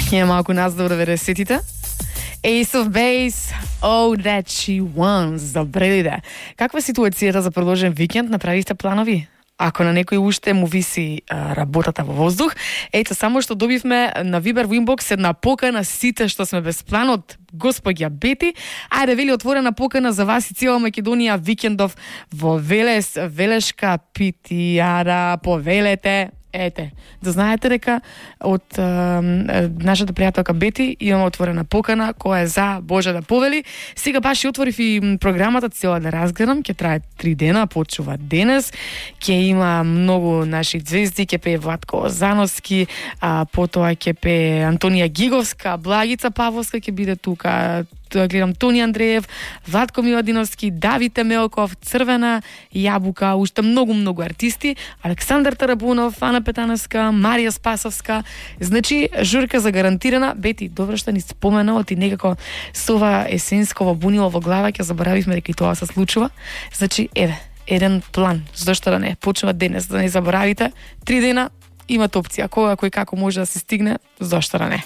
Ја малку наздор 90-тите. Ace of Base, Oh That She Wants. Добре иде. Каква е ситуацијата за продолжен викенд? Направивте планови? Ако на некој уште му виси работата во воздух, ето само што добивме на Viber во инбокс една покана сите што сме без план од госпоѓа Бети. Ајде, вели отворена покана за вас и цела Македонија викендов во Велес, Велешка питијара, повелете. Ете, да знаете дека од нашата пријателка Бети имаме отворена покана која е за Боже да повели. Сега баш и отворив и програмата цела да разгледам, ќе трае 3 дена, почува денес. Ќе има многу наши звезди, ќе пее Владко Озановски, потоа ќе пее Антонија Гиговска, Благица Павловска ќе биде тука, гледам Тони Андреев, Владко Миладиновски, Давид Емелков, Црвена јабука, уште многу артисти, Александар Тарабунов, Ана Петановска, Марија Спасовска. Значи, журка загарантирана. Бети, добро што ни спомена, оти некако со ова есенско бунило во глава, ќе заборавивме дека и тоа се случува. Значи, еве, еден план, зашто да не, почнува денес, да не заборавите, 3 дена, имате опција, кој како може да се стигне, зашто да не.